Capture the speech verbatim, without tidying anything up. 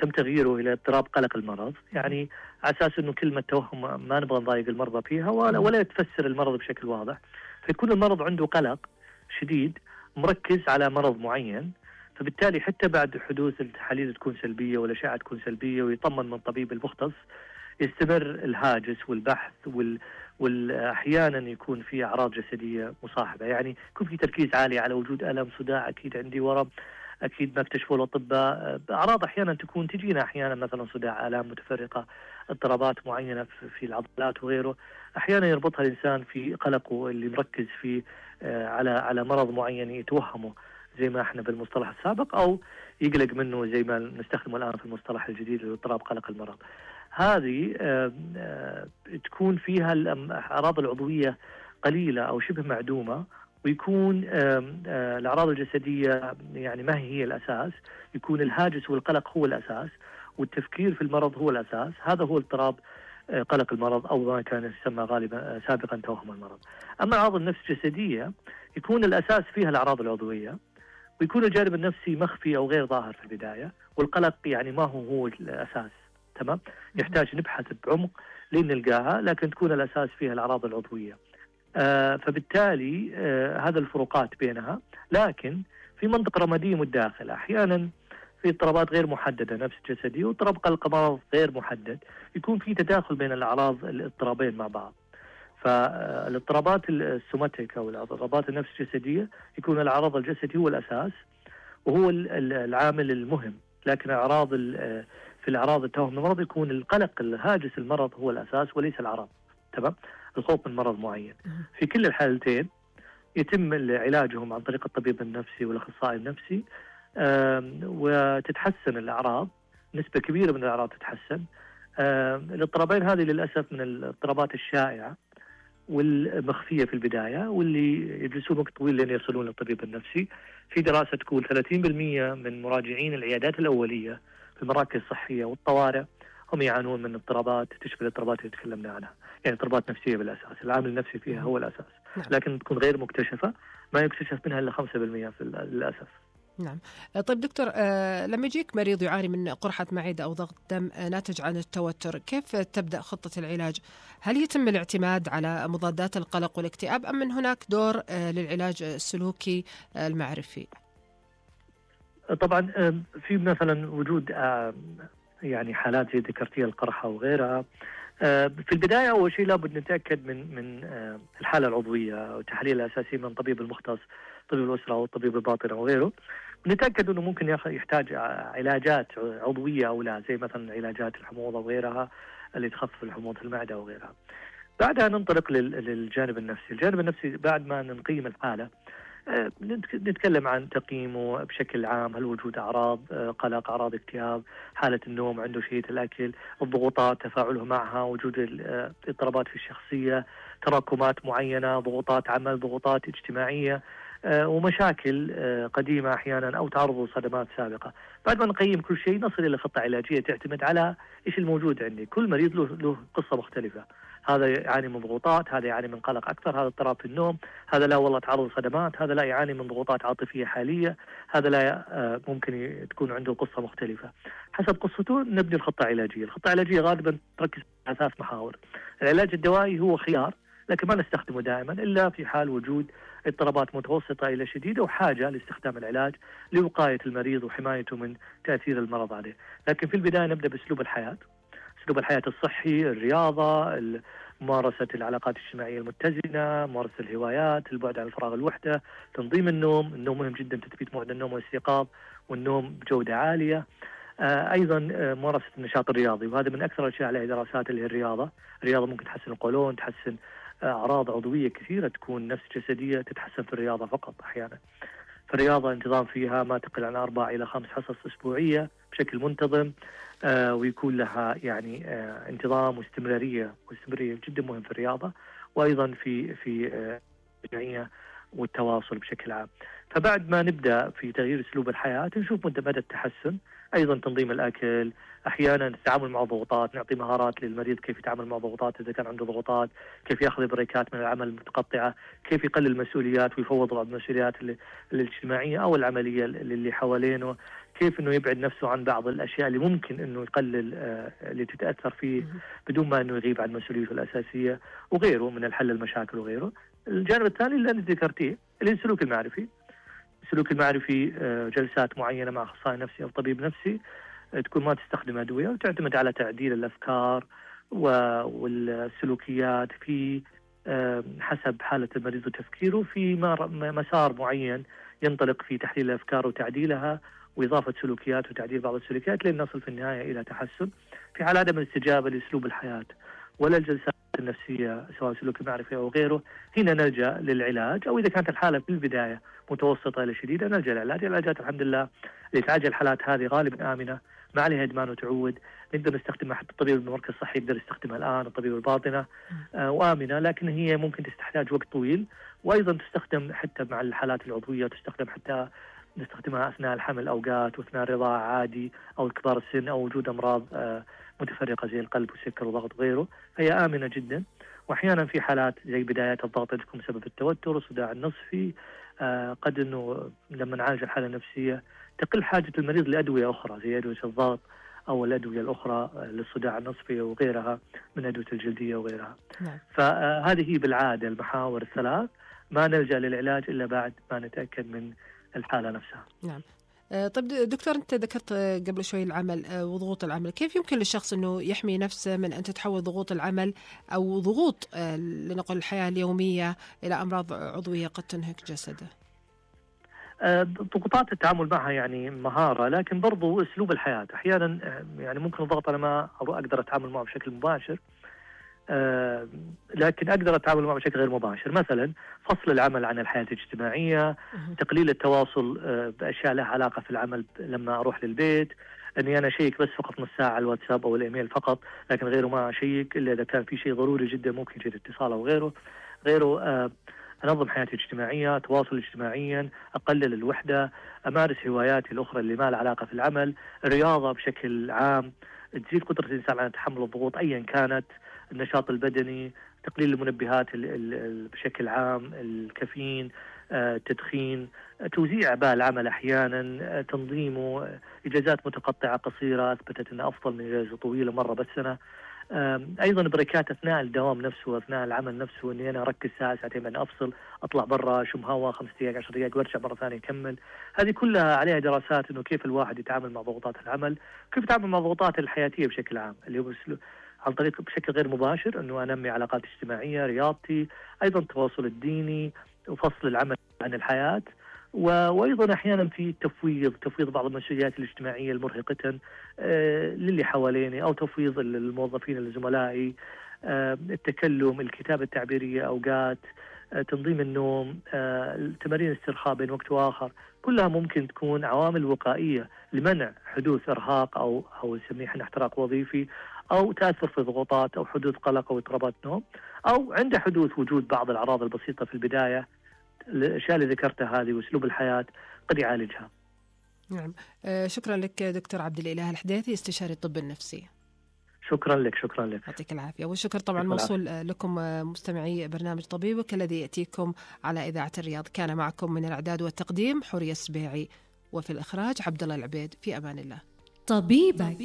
تم تغييره إلى اضطراب قلق المرض، يعني على أساس أنه كلمة توهم ما نبغى نضايق المرضى فيها ولا, ولا تفسر المرض بشكل واضح، فيكون المرض عنده قلق شديد مركز على مرض معين، فبالتالي حتى بعد حدوث التحاليل تكون سلبية والأشعة تكون سلبية ويطمن من الطبيب المختص، يستمر الهاجس والبحث وال والأحيانا يكون في أعراض جسدية مصاحبة، يعني يكون في تركيز عالي على وجود ألم، صداع، أكيد عندي ورم، أكيد ما اكتشفوا الأطباء، أعراض أحيانا تكون تجينا أحيانا مثلا صداع، آلام متفرقة، اضطرابات معينة في العضلات وغيره، أحيانا يربطها الإنسان في قلقه اللي مركز فيه على على مرض معين يتوهمه زي ما احنا بالمصطلح السابق، أو يقلق منه زي ما نستخدمه الآن في المصطلح الجديد اضطراب قلق المرض. هذه تكون فيها الأعراض العضوية قليلة أو شبه معدومة، ويكون الأعراض الجسدية يعني ما هي الأساس، يكون الهاجس والقلق هو الأساس والتفكير في المرض هو الأساس. هذا هو اضطراب قلق المرض أو ما كان يسمى غالبا سابقا توهم المرض. أما الأعراض النفس الجسدية يكون الأساس فيها الأعراض العضوية، ويكون الجانب النفسي مخفي أو غير ظاهر في البداية، والقلق يعني ما هو هو الأساس. تمام، يحتاج نبحث بعمق لين نلقاها، لكن تكون الأساس فيها الأعراض العضوية. آه فبالتالي آه هذا الفروقات بينها. لكن في منطقة رمادية متداخلة، أحيانا في اضطرابات غير محددة نفس جسدية واضطراب قلق مرض غير محدد، يكون في تداخل بين الأعراض الاضطرابين مع بعض. فالاضطرابات السوماتيك أو الاضطرابات النفس الجسدية يكون العرض الجسدي هو الأساس وهو العامل المهم، لكن أعراض في الأعراض التوهم المرض يكون القلق الهاجس المرض هو الأساس وليس الأعراض. تمام، الخوف من مرض معين. في كل الحالتين يتم علاجهم عن طريق الطبيب النفسي والأخصائي النفسي، وتتحسن الأعراض، نسبة كبيرة من الأعراض تتحسن. الاضطرابين هذه للأسف من الاضطرابات الشائعة والمخفية في البداية، واللي يجلسون وقت طويل لين يصلون للطبيب النفسي. في دراسة تقول ثلاثين بالمئة من مراجعين العيادات الأولية في المراكز الصحية والطوارئ هم يعانون من اضطرابات تشبه الاضطرابات اللي تكلمنا عنها، يعني اضطرابات نفسية بالأساس، العامل النفسي فيها هو الأساس، لكن تكون غير مكتشفة، ما يكتشف منها إلا خمسة بالمئة في للأسف. نعم. طيب دكتور، آه لما يجيك مريض يعاني من قرحة معدة أو ضغط دم آه ناتج عن التوتر، كيف تبدأ خطة العلاج؟ هل يتم الاعتماد على مضادات القلق والاكتئاب أم من هناك دور آه للعلاج السلوكي آه المعرفي؟ طبعا آه في مثلا وجود آه يعني حالات زي ذكرتيها القرحة وغيرها. آه في البداية أول شيء لابد نتأكد من من آه الحالة العضوية والتحاليل الأساسية من الطبيب المختص، طبيب الأسرة أو الطبيب الباطنة وغيره، نتأكد أنه ممكن يحتاج علاجات عضوية أو لا، زي مثلا علاجات الحموضة وغيرها اللي تخفف الحموضة المعدة وغيرها. بعدها ننطلق للجانب النفسي. الجانب النفسي بعد ما نقيم الحالة نتكلم عن تقييمه بشكل عام، هل وجود أعراض قلق، أعراض اكتئاب، حالة النوم، عنده شهية الأكل، الضغوطات تفاعله معها، وجود اضطرابات في الشخصية، تراكمات معينة، ضغوطات عمل، ضغوطات اجتماعية، ومشاكل قديمة أحيانا أو تعرض لصدمات سابقة. بعد ما نقيم كل شيء نصل إلى خطة علاجية تعتمد على إيش الموجود عندي. كل مريض له, له قصة مختلفة، هذا يعاني من ضغوطات، هذا يعاني من قلق أكثر، هذا اضطراب في النوم، هذا لا والله تعرض لصدمات، هذا لا يعاني من ضغوطات عاطفية حالية، هذا لا ممكن تكون عنده قصة مختلفة. حسب قصته نبني الخطة العلاجية. الخطة العلاجية غالبا تركز على ثلاث محاور. العلاج الدوائي هو خيار، لكن ما نستخدمه دائما إلا في حال وجود اضطرابات متوسطة إلى شديدة وحاجة لاستخدام العلاج لوقاية المريض وحمايته من تأثير المرض عليه. لكن في البداية نبدأ بأسلوب الحياة، أسلوب الحياة الصحي، الرياضة، ممارسة العلاقات الاجتماعية المتزنة، ممارسة الهوايات، البعد عن الفراغ الوحدة، تنظيم النوم. النوم مهم جدا، تثبيت موعد النوم والاستيقاظ والنوم بجودة عالية. آه أيضا آه ممارسة النشاط الرياضي، وهذا من أكثر الأشياء عليها دراسات اللي هي الرياضة. الرياضة ممكن تحسن القولون، تحسن أعراض عضوية كثيرة تكون نفس جسدية تتحسن في الرياضة فقط أحيانا. فالرياضة انتظام فيها ما تقل عن أربع إلى خمس حصص أسبوعية بشكل منتظم، آه ويكون لها يعني آه انتظام واستمرارية، واستمرارية جدا مهم في الرياضة، وأيضا في في الجمعية آه والتواصل بشكل عام. فبعد ما نبدأ في تغيير أسلوب الحياة نشوف مدى مدى التحسن. أيضا تنظيم الأكل، أحيانا التعامل مع الضغوطات، نعطي مهارات للمريض كيف يتعامل مع الضغوطات إذا كان عنده ضغوطات، كيف يأخذ بريكات من العمل المتقطعة، كيف يقلل المسؤوليات ويفوض بعض المسؤوليات الاجتماعية أو العملية اللي حوالينه، كيف أنه يبعد نفسه عن بعض الأشياء اللي ممكن أنه يقلل اللي تتأثر فيه بدون ما أنه يغيب عن مسؤوليته الأساسية وغيره من الحل المشاكل وغيره. الجانب الثاني اللي أنت ذكرتيه اللي السلوك المعرفي. السلوك المعرفي جلسات معينة مع أخصائي نفسي أو طبيب نفسي، تكون ما تستخدم أدوية وتعتمد على تعديل الأفكار والسلوكيات في حسب حالة المريض وتفكيره في مسار معين ينطلق في تحليل الأفكار وتعديلها وإضافة سلوكيات وتعديل بعض السلوكيات لين نصل في النهاية إلى تحسن. في حال عدم الاستجابة لأسلوب الحياة ولا الجلسات النفسية سواء سلوك معرفي أو غيره، هنا نلجأ للعلاج، أو إذا كانت الحالة في البداية متوسطة إلى شديدة نلجأ للعلاج. العلاجات الحمد لله اللي تعالج الحالات هذه غالبا آمنة، ما عليها إدمان وتعود، نقدر نستخدمها، حتى الطبيب المركز الصحي يقدر يستخدمها الآن، الطبيب الباطنة آه وآمنة، لكن هي ممكن تحتاج وقت طويل، وأيضا تستخدم حتى مع الحالات العضوية، تستخدم حتى نستخدمها أثناء الحمل أوقات وأثناء الرضاعة عادي أو كبار السن أو وجود أمراض آه متفرقة زي القلب والسكر وضغط وغيره، فهي آمنة جدا. وأحيانا في حالات زي بدايات الضغط تكون بسبب التوتر والصداع النصفي، آه قد أنه لما نعالج الحالة النفسية تقل حاجة المريض لأدوية أخرى زي أدوية الضغط أو الأدوية الأخرى للصداع النصفي وغيرها من أدوية الجلدية وغيرها. نعم. فهذه هي بالعادة المحاور الثلاث، ما نلجأ للعلاج إلا بعد ما نتأكد من الحالة نفسها. نعم. طيب دكتور، أنت ذكرت قبل شوي العمل وضغوط العمل، كيف يمكن للشخص أنه يحمي نفسه من أن تتحول ضغوط العمل أو ضغوط لنقل الحياة اليومية إلى أمراض عضوية قد تنهك جسده؟ ضغوطات التعامل معها يعني مهارة، لكن برضو أسلوب الحياة. أحيانا يعني ممكن الضغط أنا ما أقدر أتعامل معه بشكل مباشر، آه لكن أقدر أتعامل معه بشكل غير مباشر، مثلا فصل العمل عن الحياة الاجتماعية، تقليل التواصل آه بأشياء لها علاقة في العمل لما أروح للبيت، أني أنا أشيك بس فقط نص ساعة على الواتساب أو الإيميل فقط، لكن غيره ما أشيك إلا إذا كان في شيء ضروري جدا ممكن يجي اتصال أو غيره غيره آه أنظم حياتي الاجتماعية، تواصل اجتماعيا، أقلل الوحدة، أمارس هواياتي الأخرى اللي ما لها علاقة في العمل، الرياضة بشكل عام تزيد قدرة الإنسان على تحمل الضغوط أيا كانت، النشاط البدني، تقليل المنبهات بشكل عام، الكافيين، التدخين، توزيع أعباء العمل أحيانا، تنظيمه، إجازات متقطعة قصيرة أثبتت أنها أفضل من إجازة طويلة مرة بالسنة، أيضا بريكات أثناء الدوام نفسه، أثناء العمل نفسه، أني أنا أركز ساعة ساعتين بعدين أفصل، أطلع برا أشم هواء خمس دقائق عشر دقائق وأرجع مرة ثانية أكمل. هذه كلها عليها دراسات أنه كيف الواحد يتعامل مع ضغوطات العمل، كيف يتعامل مع ضغوطات الحياتية بشكل عام، اللي هو عن طريق بشكل غير مباشر أنه أنمي علاقات اجتماعية، رياضتي، أيضا التواصل الديني وفصل العمل عن الحياة، وأيضا أحيانا في تفويض تفويض بعض المسؤوليات الاجتماعية المرهقة آه للي حواليني، أو تفويض الموظفين لزملائي، آه التكلم، الكتابة التعبيرية أوقات، آه تنظيم النوم، آه تمارين الاسترخاء بين وقت وآخر، كلها ممكن تكون عوامل وقائية لمنع حدوث إرهاق أو أو نسميه احنا احتراق وظيفي، أو تأثر في ضغوطات أو حدوث قلق أو اضطرابات نوم، أو عند حدوث وجود بعض الأعراض البسيطة في البداية. الأشياء اللي ذكرتها هذه وأسلوب الحياة قد يعالجها. نعم. آه شكرا لك دكتور عبد الإله الحديثي، استشاري الطب النفسي. شكرا لك. شكرا لك. يعطيك العافية. والشكر طبعا موصول لكم مستمعي برنامج طبيبك الذي يأتيكم على إذاعة الرياض. كان معكم من الإعداد والتقديم حورية السبيعي، وفي الإخراج عبد الله العبيد. في أمان الله. طبيبك.